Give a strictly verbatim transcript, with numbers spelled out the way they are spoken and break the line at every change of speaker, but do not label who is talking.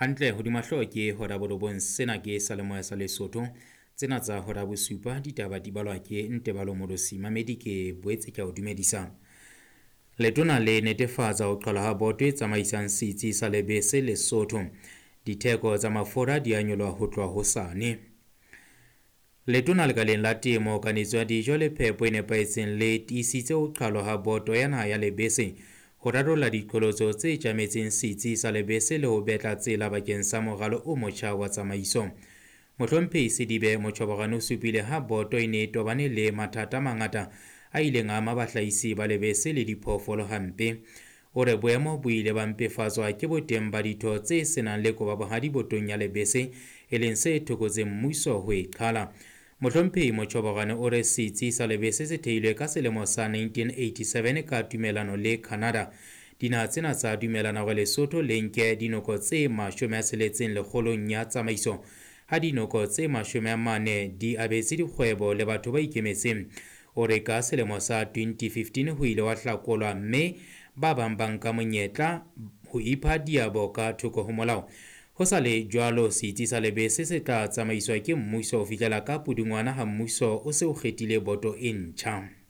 Hantle hodima hlooho ke hora borobong, sena ke Salemoya sa Lesotho. Tsena tsa hora bosupa ditaba di balwa ke Ntebalo Morosi. Mamedi ke boetse ke a o dumedisa. Letona le netefatsa ho qala ha boto e tsamaisang setsi sa lebese Lesotho. Ditheko tsa mafura di a nyoloha ho tloha hosane. Letona lekaleng la temo, kanetso ya dijo le phepo e nepahetseng le tiisitse ho qhalwa ha boto ya naha ya lebese ho rarolla diqholotso tse tjametseng setsi sa lebese le ho betla tsela bakeng sa moralo o motjha wa tsamaiso. Mohlomphehi Sedibe Motjhoborane o supile ha boto e ne e tobane le mathata a mangata a ileng a ama bahlahisi ba lebese le diphoofolo hampe. O re boemo bo ile ba mpefatswa ke boteng ba ditho tse senang le kobabohadi botong ya lebese, e leng se thokotseng mmuso ho e qhala. Mohlomphehi Motjhoborane o re setsi sa lebese se theilwe ka selemo sa nineteen eighty-seven ka tumelano le Canada. Dinaha tsena tsa dumelana hore Lesotho le nke dinoko tse mashome a tsheletseng lekgolong ya tsamaiso, ha dinoko tse mashome a mane di abetse dikgwebo le batho ba ikemetseng. O re ka selemo sa twenty fifteen ho ile wa hlakolwa mme ba bang ba nka monyetla ho ipha diabo ka thoko ho molao. Ho sa le jwalo, setsi sa lebese se tla tsamaiswa ke mmuso ho fihlela ka pudungwana ha mmuso o se o kgethile boto e ntjha.